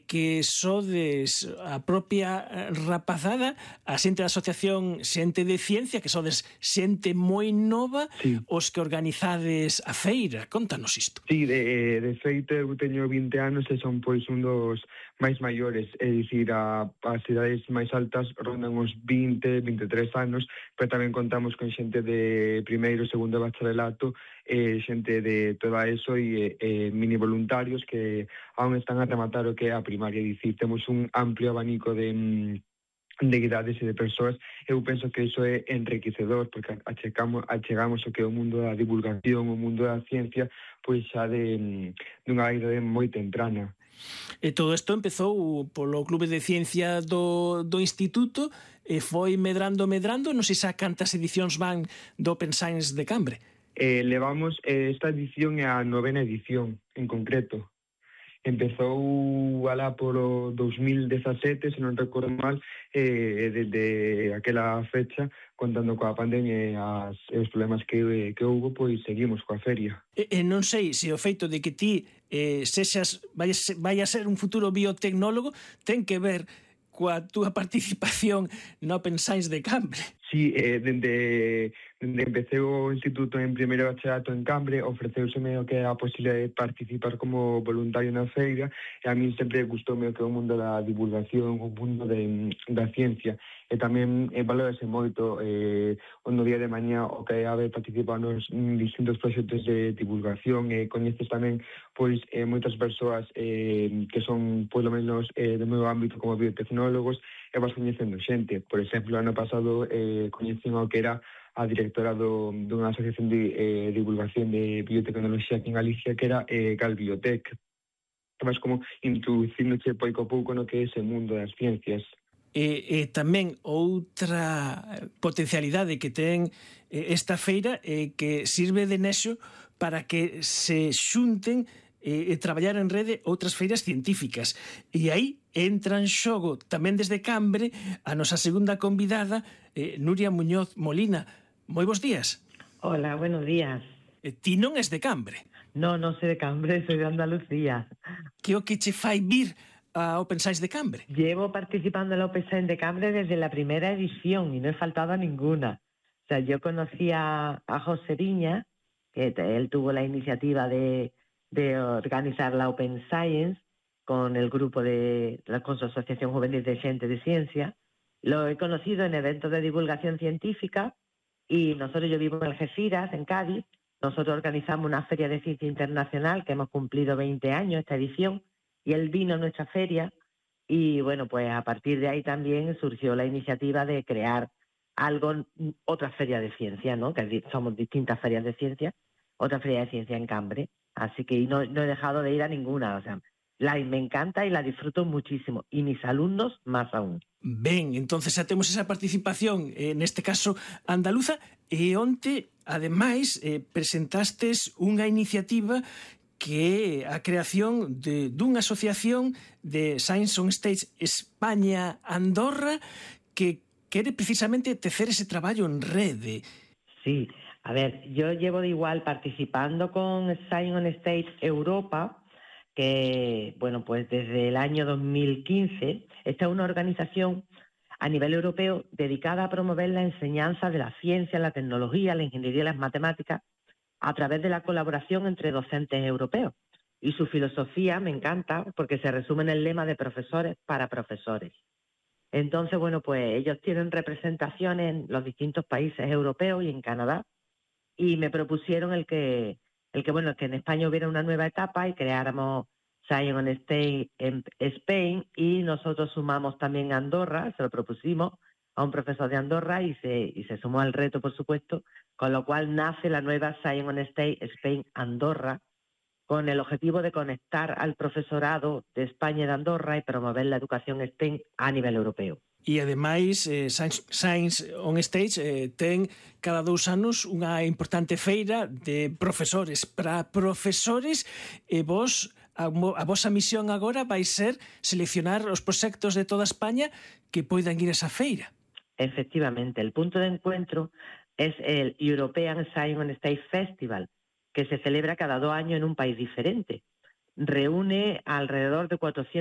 que sodes a propia rapazada, a xente da asociación Xente de Ciencia, que sodes xente moi nova, Sí. os que organizades a feira. Contanos isto. Sí, de feito eu teño 20 anos e son pois un dos máis maiores, é dicir, as idades máis altas rondan os 20, 23 anos, pero tamén contamos con xente de primeiro, segundo bacharelato, xente de toda eso e mini voluntarios que aún están a rematar o que é a primaria, é dicir, temos un amplio abanico de idades e de persoas. Eu penso que iso é enriquecedor porque achegamos o que é o mundo da divulgación, o mundo da ciencia, pois xa dunha idade moi temprana. E todo isto empezou polo Clube de Ciencia do Instituto e foi medrando, non sei xa cantas edicións van do Open Science de Cambre. Levamos, esta edición é a 9ª edición, en concreto. Empezou alá polo 2017, se non recordo mal, desde aquela fecha, contando coa pandemia e os problemas que houve, pois seguimos coa feria. E non sei se o feito de que ti vai a ser un futuro biotecnólogo ten que ver coa túa participación no Open Science de Cambre. Sí, dende empecé o instituto en primeiro bachillerato en Cambre, ofreceuseme o que é a posibilidade de participar como voluntario na feira e a min sempre gustoume o que é o mundo da divulgación, o mundo da ciencia e tamén valorase moito no día de mañá o que é haber participado nos distintos proxectos de divulgación e coñeces tamén pois moitas persoas que son polo menos do meu ámbito como biotecnólogos e vas coñecendo xente. Por exemplo, ano pasado coñecín o que era a directora dunha asociación de divulgación de biotecnoloxía aquí en Galicia que era Galbiotec. Vas como introducíndoche pouco a pouco no que é ese mundo das ciencias. E tamén outra potencialidade que ten esta feira é que sirve de nexo para que se xunten e traballar en rede outras feiras científicas. E aí entra en xogo tamén desde Cambre a nosa segunda convidada, Nuria Muñoz Molina. Moi bons días. Hola, buenos días. Ti non és de Cambre? No, non soy de Cambre, soy de Andalucía. Que o que che fai vir a Open Science de Cambre? Llevo participando en la Open Science de Cambre desde la primera edición y no he faltado a ninguna. O sea, yo conocí a José Viña, que él tuvo la iniciativa de organizar la Open Science con el grupo con su Asociación Juvenil de Xente de Ciencia. Lo he conocido en eventos de divulgación científica y yo vivo en Algeciras, en Cádiz. Nosotros organizamos una feria de ciencia internacional que hemos cumplido 20 años esta edición y él vino a nuestra feria y bueno, pues a partir de ahí también surgió la iniciativa de crear otra feria de ciencia, ¿no? Que somos distintas ferias de ciencia, otra feria de ciencia en Cambre. Así que no he dejado de ir a ninguna, o sea, me encanta y la disfruto muchísimo. Y mis alumnos más aún. Ben, entonces xa temos esa participación, neste caso andaluza, e onte, ademais, presentastes unha iniciativa que é a creación dunha asociación de Science on Stage España-Andorra que quere precisamente tecer ese traballo en rede. Sí, a ver, yo llevo de igual participando con Science on Stage Europa, que, bueno, pues desde el año 2015, esta es una organización a nivel europeo dedicada a promover la enseñanza de la ciencia, la tecnología, la ingeniería y las matemáticas a través de la colaboración entre docentes europeos. Y su filosofía me encanta porque se resume en el lema de profesores para profesores. Entonces, bueno, pues ellos tienen representación en los distintos países europeos y en Canadá y me propusieron el que en España hubiera una nueva etapa y creáramos Science on Stage en Spain y nosotros sumamos también a Andorra, se lo propusimos a un profesor de Andorra y se sumó al reto, por supuesto, con lo cual nace la nueva Science on Stage Spain Andorra con el objetivo de conectar al profesorado de España y de Andorra y promover la educación STEM a nivel europeo. E, ademais, Science on Stage ten cada 2 anos unha importante feira de profesores para profesores e a vosa misión agora vai ser seleccionar os proxectos de toda España que poidan ir a esa feira. Efectivamente, el punto de encuentro es el European Science on Stage Festival, que se celebra cada 2 años en un país diferente. Reúne alrededor de 400